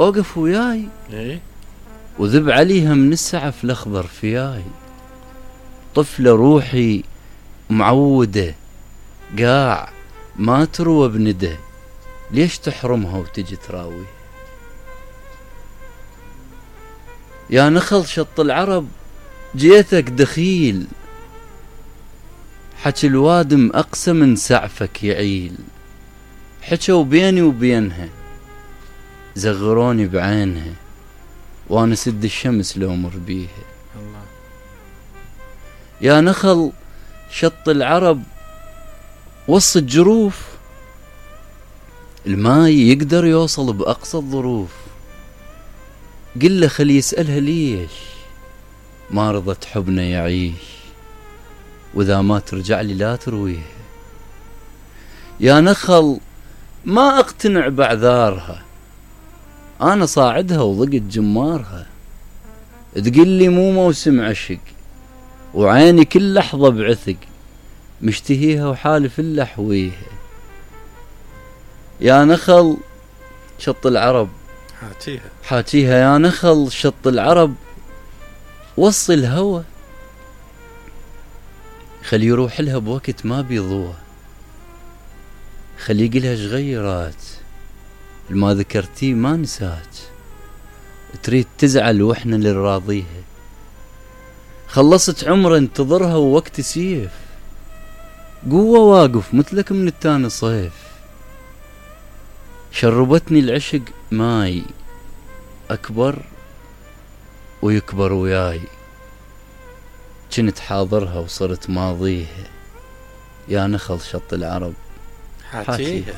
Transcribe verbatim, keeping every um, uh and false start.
اوقف وياي ايه وذب عليها من السعف الاخضر فياي. طفلة روحي معودة قاع ما تروى بندى، ليش تحرمها وتجي تراوي؟ يا نخل شط العرب جيتك دخيل، حكي الوادم أقسى من سعفك يعيل. حكوا بيني وبينها زغروني بعينها، وانا سد الشمس لو مر بيها. الله. يا نخل شط العرب وسط الجروف، الماي يقدر يوصل بأقصى الظروف. قل له خلي يسألها ليش ما رضت حبنا يعيش، وإذا ما ترجع لي لا ترويها. يا نخل ما اقتنع بعذارها، انا صاعدها وضقت جمارها. تقول لي مو موسم عشق، وعيني كل لحظة بعثق، مشتهيها وحالف الا احويها. يا نخل شط العرب حاجيها حاجيها يا نخل شط العرب وصي الهوى، خلي يروح لها بوقت ما بيضوى. خلي يقلها شغيرات الما ذكرتيه ما نسات، تريد تزعل واحنا اللي نراضيها. خلصت عمر انتظرها ووقت سيف، قوة واقف مثلك من التاني صيف. شربتني العشق ماي أكبر ويكبر وياي، كنت حاضرها وصرت ماضيها. يا نخل شط العرب حاجيها.